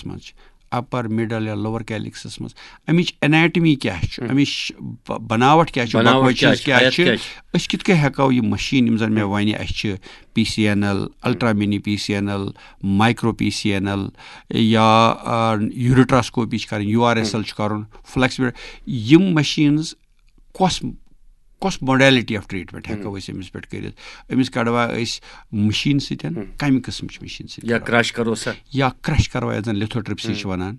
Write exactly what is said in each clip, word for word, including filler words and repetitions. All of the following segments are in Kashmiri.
منٛز چھِ، اپر، مڈل یا لوور کیلکسس منٛز، امِچ انیٹمی کیٛاہ چھُ، امِچ ب- بناوٹ کیٛاہ چھِ، بناوٹ بکوچیز کیٛاہ چھِ، کیٛاہ ہیٚتھ چھِ، کیٛاہ چھِ؟ أسۍ کِتھ کٔنۍ ہٮ۪کو یہِ مشیٖن، یِم زن مےٚ وَنہِ، اَسہِ چھِ P C N L, ultra mini P C N L, micro P C N L, یا یوریٹراسکوپی چھِ کرٕنۍ، یو آر ایس ایل چھُ کرُن، فلیکسیبل، یِم مشیٖنز کۄس کۄس modality of treatment ہٮ۪کو أسۍ أمِس پٮ۪ٹھ کٔرِتھ؟ أمِس کڑوا أسۍ مشیٖن سۭتۍ، کمہِ قٕسمٕچ مشیٖن سۭتۍ یا کڑوا؟ کرش کرو سا؟ یا کرش کروا، یتھ زن لِتھوٹرپسی چھِ ونان،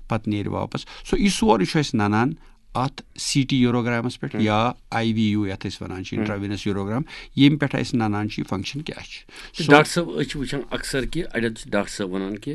پتہٕ نیرِ واپس۔ سو یہِ سورُے چھُ اَسہِ ننان اتھ سی ٹی یوروگرامس پٮ۪ٹھ یا آی وی یو، یتھ أسۍ ونان چھِ انٹراوینس یوروگرام، ییٚمہِ پٮ۪ٹھ اَسہِ ننان چھُ یہِ فنکشن کیٛاہ چھِ۔ تہٕ سو ڈاکٹر صٲب، أسۍ چھِ وٕچھان اکثر کہِ اَڑٮ۪ن چھِ ڈاکٹر صٲب وَنان کہِ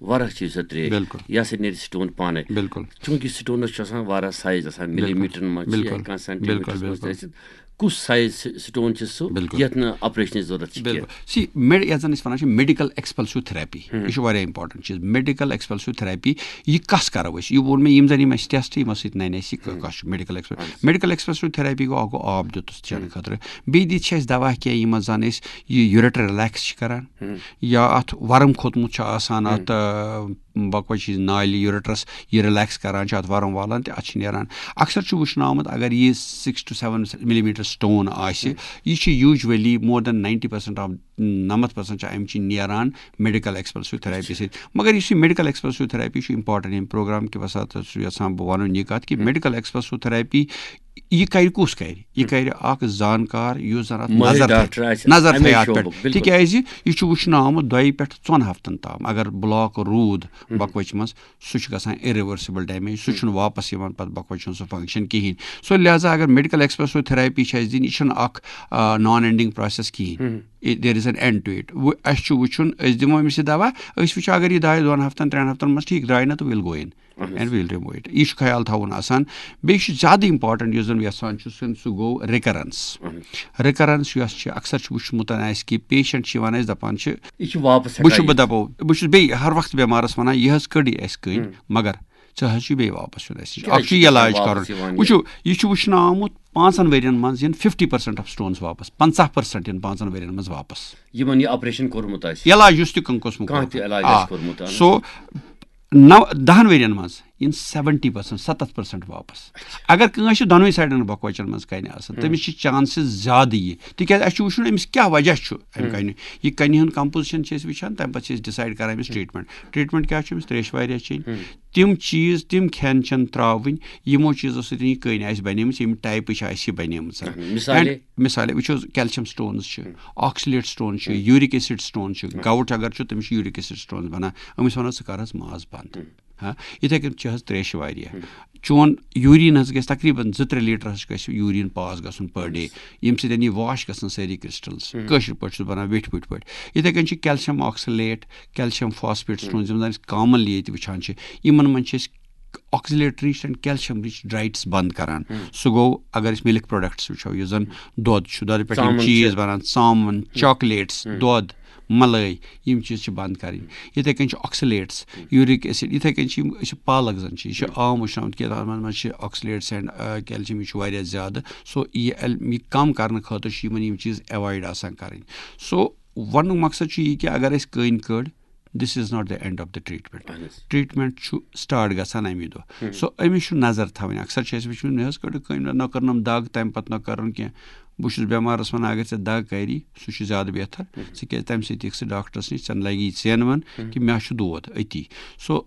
واریاہ چھِ سۄ ترٛیش، بِلکُل۔ یہِ ہسا نیرِ سٹون پانے۔ بِلکُل۔ چوٗنٛکہِ سٹونس چھُ آسان واریاہ سایز آسان، ملی میٹرن منٛز چھِ یا بِلکُل۔ کانٛہہ سینٹی میٹرس بِلکُل، منٛز تہِ بِلکُل۔ آسہِ۔ کُس سایز سٹون چھِ سُہ، بِلکُل۔ یتھ نہٕ آپریشنٕچ ضروٗرت چھِ کینٛہہ؟ بِلکُل۔ سی میڈ یتھ زن أسۍ ونان چھِ میڈیکل ایکسپلسو تھراپی، یہِ چھُ واریاہ امپورٹنٹ چیٖز۔ میڈیکل ایکسپلسو تھراپی، یہِ کس کرو أسۍ؟ یہِ ووٚن مےٚ، یِم زن یِم اَسہِ ٹیسٹ، یِمو سۭتۍ ننہِ اَسہِ یہِ کس چھُ میڈیکل ایکسپلس۔ میڈیکل ایکسپلسو تھراپی گوٚو، اکھ گوٚو آب دیُتُس چٮ۪نہٕ خٲطرٕ، بیٚیہِ دِتۍ چھِ اَسہِ دوا کینٛہہ، یِم زن أسۍ یہِ یوریٹر ریلیکس چھِ کران، یا اتھ ورم کھوٚتمُت چھُ آسان، اتھ بکوچی نالہِ، یوریٹرس، یہِ ریلیکس کران چھِ، اتھ ورم والان تہٕ اتھ چھِ نیران۔ اکثر چھُ وٕچھنہٕ آمُت، اگر یہِ six to seven millimeter stone آسہِ، یہِ چھِ usually more than ninety percent of، نَمَتھ percent چھِ امہِ چہِ نیران میڈیکل ایکسپلسو تھراپی سۭتۍ۔ مگر یُس یہِ میڈیکل ایکسپلسو تھراپی چھُ امپورٹنٹ، ییٚمہِ پروگرام کہِ وسعت چھُ یژھان بہٕ ونُن یہِ کتھ کہِ میڈیکل ایکسپلسو تھراپی یہِ کرِ کُس کرِ؟ یہِ کرِ اکھ زانکار، یُس زن اتھ مٲہِر نظر ڈاکٹر تھایہِ، آسہِ، نظر اَمے تھایہِ اتھ شوبُک، پٮ۪ٹھ۔ بِلکُل۔ تِکیازِ یہِ چھُ وٕچھنہٕ آمُت، دۄیہِ پٮ۪ٹھ ژۄن ہفتن تام اگر بلاک روٗد بکوچہِ منٛز، سُہ چھُ گژھان irreversible damage، سُہ چھُنہٕ واپس یِوان پتہٕ بکوچہِ ہُنٛد سُہ فنکشن کِہینۍ۔ سو لہذا اگر میڈیکل ایکسپلسو تھراپی چھِ اَسہِ دِنۍ، یہِ چھُنہٕ اکھ نان اینڈنگ پروسیس کِہینۍ۔ There is an end to it۔ وۄنۍ اَسہِ چھُ وٕچھُن، أسۍ دِمو أمِس یہِ دوا، أسۍ وٕچھو اگر یہِ دۄیہِ دۄن ہفتن، ترٛٮ۪ن ہفتن منٛز ٹھیٖک درٛاے نہٕ تہٕ we'll go in and we'll remove it۔ یہِ چھُ خیال تھاوُن آسان۔ بیٚیہِ چھُ زیادٕ امپورٹنٹ یُس زن یژھان چھُ سُہ، سُہ گوٚو رِکرنس۔ رِکرنس یۄس چھِ، اکثر چھُ وٕچھمُت اَسہِ کہِ پیشنٹ چھِ یِوان، اَسہِ دپان چھِ، یہِ چھُ واپس بہٕ چھُس ہٮ۪کان بہٕ دپو، بہٕ چھُس بیٚیہِ ہر وقتہٕ بٮ۪مارس ونان، یہِ حظ کٔڑ یہِ اَسہِ کٔڑ، مگر ژٕ حظ چھُے بیٚیہِ واپس یُن اَسہِ نِش۔ کیٛازِ اکھ چھُ چھُ علاج واپس کرُن۔ یِوان یہِ؟ وٕچھِو، یہِ چھُ وٕچھنہٕ آمُت پانٛژن ؤرین منٛز یِن fifty percent of stones واپس، پنٛژاہ percent یِن پانٛژن ؤرین منٛز واپس۔ یِمن یہِ آپریشن کوٚرمُت آسہِ؟ علاج یُس تہِ کانٛہہ قٕسمُک کانٛہہ تہِ کوٚرمُت۔ علاج آ۔ آسہِ کوٚرمُت، اہن حظ۔ سو نو دہن ؤرین منٛز یِن seventy percent، ستتھ percent واپس۔ اگر کٲنٛسہِ چھِ دۄنوے سایڈن بۄکہٕ وچن منٛز کنہِ آسان، تٔمِس چھِ چانسز زیادٕ یہِ، تِکیازِ اَسہِ چھُ وٕچھُن أمِس کیٛاہ وجہ چھُ امہِ کنہِ۔ یہِ کنہِ ہُنٛد کمپوزیشن چھِ أسۍ وٕچھان، تمہِ پتہٕ چھِ أسۍ ڈِسایڈ کران أمِس ٹریٹمنٹ۔ ٹریٹمنٹ کیٛاہ چھُ أمِس؟ تریش واریاہ چیٚنۍ، تِم چیٖز، تِم کھٮ۪ن چٮ۪ن تراوٕنۍ، یِمو چیٖزو سۭتۍ یہِ کٔنۍ آسہِ بنیمٕژ، ییٚمہِ ٹایپٕچ آسہِ یہِ بنیمٕژ۔ مثالے؟ And مثالے وٕچھو، کیلشیم سٹونز چھِ، آکسلیٹ سٹون چھِ، یوٗرِک ایسڈ سٹون چھِ، گاوُٹ اگر چھُ، تٔمِس چھُ یوٗرِک ایسڈ سٹونز بنان۔ أمِس ونو، ژٕ کر حظ ماز بنٛد۔ ہاں، یِتھے کٔنۍ چھِ حظ تریشہِ واریاہ۔ چون یوٗریٖن حظ گژھِ تقریٖباً زٕ ترٛےٚ لیٖٹر حظ گژھِ یوٗریٖن پاس گژھُن per day، ییٚمہِ سۭتۍ یہِ واش گژھن سٲری کرسٹلز، کٲشِر پٲٹھۍ چھُس بنان ویٹھۍ پھُٹۍ پٲٹھۍ۔ یِتھے کٔنۍ چھِ کیلشیم آکسلیٹ، کیلشیم فاسفیٹ سٹونز، یِم زن أسۍ کامنلی ییٚتہِ وٕچھان چھِ، یِمن منٛز چھِ أسۍ oxalate rich and calcium rich diets بنٛد کران۔ سُہ گوٚو اگر أسۍ مِلک پروڈکٹس وٕچھو، یُس زن دۄد چھُ، دۄدٕ پٮ۪ٹھ یِم ژامَن چھِ۔ چیٖز بنان، ژامَن، چاکلیٹس، دۄد، ملٲے، یِم چیٖز چھِ بنٛد کرٕنۍ۔ یِتھے کٔنۍ چھِ oxalates، یوٗرِک ایسڈ، یِتھے کٔنۍ چھِ یِم، أسۍ چھِ پالک زن چھِ، یہِ چھِ عام وٕچھنہٕ آمُت کہِ تتھ منٛز چھِ oxalates and calcium، یہِ چھُ واریاہ زیادٕ۔ سو یہِ ال-، یہِ کم کرنہٕ خٲطرٕ چھِ یِمن یِم چیٖز ایوایڈ آسان کرٕنۍ۔ سو وننُک مقصد چھُ یہِ کہِ اگر أسۍ کٔنۍ کٔڑ، this is not the end of the treatment۔ اہن حظ۔ ٹریٹمنٹ چھُ سٹارٹ گژھان امی دۄہ۔ سو أمِس چھُ نظر تھاوٕنۍ۔ اکثر چھِ اَسہِ وٕچھمُت، مےٚ حظ کٔڑ کٔمۍ نہ کٔرنَم دگ، تَمہِ پَتہٕ نہ کٔرٕن کینٛہہ۔ بہٕ چھُس بٮ۪مارَس وَنان، اگر ژےٚ دگ کَری، سُہ چھُ زیادٕ بہتر۔ ژٕ کیٛازِ تَمہِ سۭتۍ یِکھ ژٕ ڈاکٹرَس نِش، ژےٚ لَگی ژینوَن کہِ مےٚ چھُ دود أتی۔ سو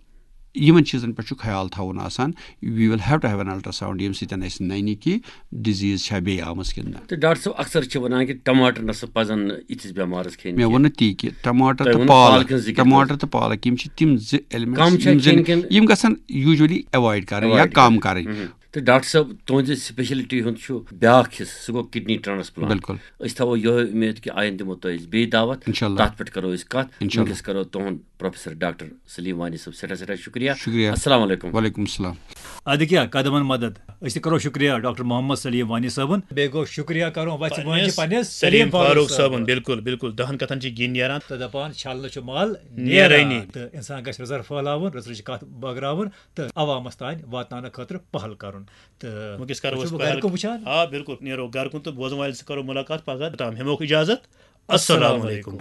یِمَن چیٖزَن پٮ۪ٹھ چھُ خیال تھاوُن آسان۔ We will have to have an ultrasound، ییٚمہِ سۭتۍ اَسہِ نَنہِ کہِ ڈِزیٖز چھا بیٚیہِ آمٕژ کِنہٕ نہ۔ تہٕ ڈاکٹر صٲب، اکثر چھِ وَنان کہِ ٹماٹر نہ سا پَزَن نہٕ یِتھِس بٮ۪مارَس کھیٚنۍ مےٚ کینٛہہ۔ ووٚن نہٕ تی کہِ ٹماٹر تۄہہِ تہٕ ووٚنوُ پالک، پالکہِ ہٕنٛز ذِکِر ٹماٹر کٔرمٕژ۔ تہٕ پالک، یِم چھِ تِم زٕ ایلیمنٹس، کم چھا یِم زن، کھیٚنۍ کِنہٕ یِم گژھن یوٗجولی ایوایڈ کرٕنۍ یا ایوایڈ کم کرٕنۍ۔ کرٕنۍ۔ تہٕ ڈاکٹر صٲب، تُہنٛزِ سپیشلٹی ہُنٛد چھُ بیٛاکھ حصہٕ، سُہ گوٚو کڈنی ٹرانسپلانٹ۔ بِلکُل۔ أسۍ تھاوو یِہوٚے اُمید کہِ آیندٕ دِمو تۄہہِ أسۍ بیٚیہِ دعوت۔ انشاءاللہ۔ تَتھ پٮ۪ٹھ کرو أسۍ کَتھ۔ انشاءاللہ۔ وٕنکیٚس کرو تُہُنٛد پروفیسر ڈاکٹر سلیم وانی صٲب سٮ۪ٹھاہ سٮ۪ٹھاہ شُکریہ۔ شُکریہ۔ السلام علیکم۔ وعلیکم السلام۔ ادٕ کیٛاہ، قدمن مدد۔ أسۍ تہِ کرو شُکریہ ڈاکٹر محمد سلیم وانی صٲبُن۔ بیٚیہِ گوٚو شُکریہ کرُن وَژھِ وٲنٛجہِ پننِس سلیم فاروق صٲبُن۔ بِلکُل، بِلکُل، دَہَن کَتھَن چھِ گِنۍ نیران۔ تہٕ دَپان، چھَلنہٕ چھُ مَل نیرٲنی۔ نیران۔ تہٕ اِنسان گژھِ رٕژَر پھٲلاوُن، رٕژرٕچ کَتھ بٲگراوُن تہٕ عوامَس تام واتناونہٕ خٲطرٕ پَہل کَرُن۔ تہٕ وٕنکیٚس کَرو وٕچھِو أسۍ بہٕ گَرِ پَہل۔ کُن وٕچھان۔ آ، بِلکُل، نیرو گَرٕ کُن تہٕ بوزَن وٲلۍ سۭتۍ کَرو مُلاقات پَگاہ تام۔ ہٮ۪موکھ اِجازت۔ السلام علیکُم۔